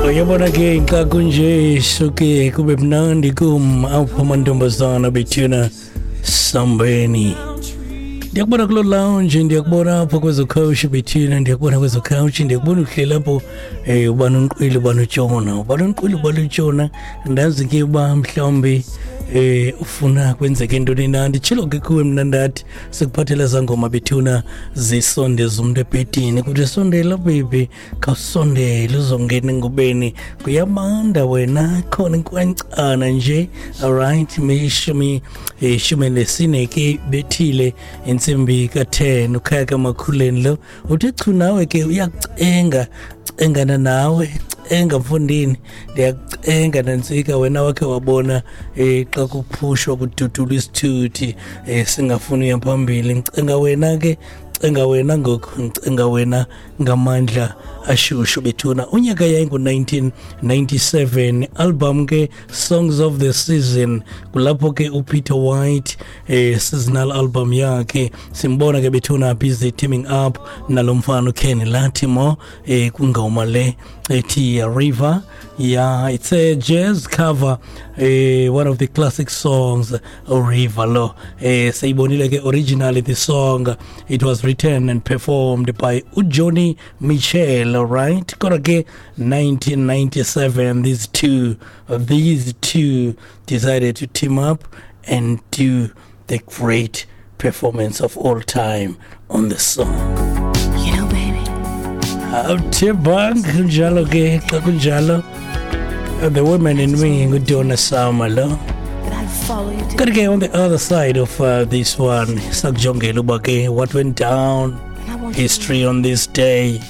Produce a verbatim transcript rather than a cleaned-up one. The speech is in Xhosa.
Uyabona ke xa kunje suke kube mnandi kum apho amantombazana bethuna sambeni. Ndiyakubona kuloo lounge, ndiyakubona apho kwezo couch bethuna, ndiyakubona kwezo couch, ndiyakubona uhleli apho um ubani unqwile ubani utshona, ubani unqwile ubani utshona. Ndazi ke uba mhlawumbi eh ufuna kwenzeke ntoni na. Nditshilo ke kuwe mna ndathi sikuphathela zangoma bethuna zisondeza umntu ebhedini, kuthi sondela baby, khawusondele uzongena engubeni, kuyabanda wena, khona inkwancana nje. Alright, mishumi ishumi nesine ke bethile intsimbi ka-ten ukhaya kamakhuleni lo uthe chu nawe ke uyakucenga, cengana nawe, cenga mfundini, ndiyakucenga nantsika wena wakhe wabona eh xa kuphushwa kududulwa isithuthi eh singafuni uya phambili. Ngicenga wena ke, cenga wena ngoku, ngicenga wena ngamandla ashushu bethuna. Unyaka yayingu-nineteen ninety-seven, album ke Songs of the Season, kulapho ke uPeter White eh seasonal album yakhe simbona ke bethuna busy teaming up nalo mfana uKenny Lattimore eh kwingoma le ethi River. Yeah, it's a jazz cover, eh, one of the classic songs, River lo. Eh, seyibonile ke originally the song, it was written and performed by uJoni Mitchell, right? Kodwa ke nineteen ninety-seven, these two, these two decided to team up and do the great performance of all time on the song. You know, baby. Awuthebang kunjalo ke xa kunjalo. The Woman in Me nguDonna Summer lo. That I'd follow you to Kodwa ke on the other side of uh, this one, sakujongela uba ke what went down, And I want you history on this day.